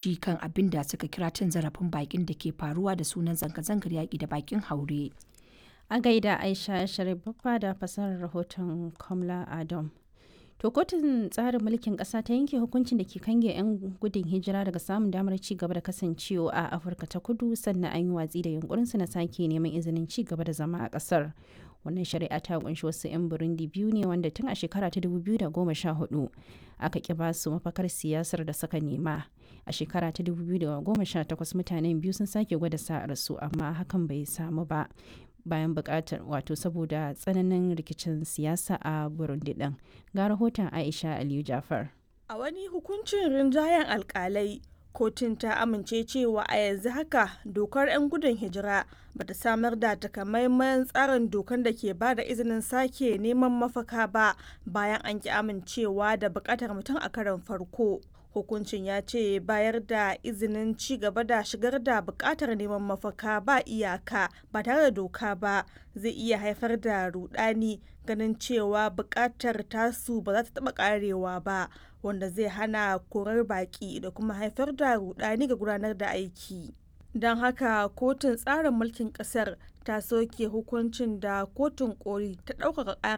Kan abin da suka kira cin zarafin baƙin da ke faruwa da sunan zanga-zangar yaƙi da baƙin haure. A gaida Aisha Sharif Baffa da fasarar rahoton Komla Adom. To kotun tsarin mulkin ƙasa ta yanke hukuncin da ke kange 'yan gudun hijira daga samun damar ci gaba da kasancewa a Afirka ta Kudu, sannan an yi watsi da yunkurinsu na sake neman izinin ci gaba da zama a ƙasar. Wannan shari'a ta kunshi wasu 'yan Burundi biyu ne wanda tun a shekara ta 2014 aka ƙi ba su mafakar siyasar da suka nema. A shekara ta 2018 mutanen biyu sun sake gwada sa'ar su, amma hakan bai samu ba, bayan bukatar wato saboda tsananin rikicin siyasa a Burundi din. Ga rahoton Aisha Aliyu Jafar. A wani hukuncin rinjayen alkalai, kotun ta amince cewa a yanzu haka dokar 'yan gudun hijira bata samar da takamaiman tsarin dokar da ke ba da izinin sake neman mafaka ba bayan an ki amincewa da bukatar mutum a karon farko. Hukuncin ya ce bayar da izinin ci gaba da shigar da bukatar neman mafaka ba iyaka ba tare da doka ba zai iya haifar da rudani, ganin cewa bukatar tasu ba za ta taba karewa ba, wanda zai hana korar baki da kuma haifar da rudani ga gudanar da aiki. Don haka kotun tsarin mulkin kasar ta soke hukuncin da kotun koli ta ɗaukaka ƙara.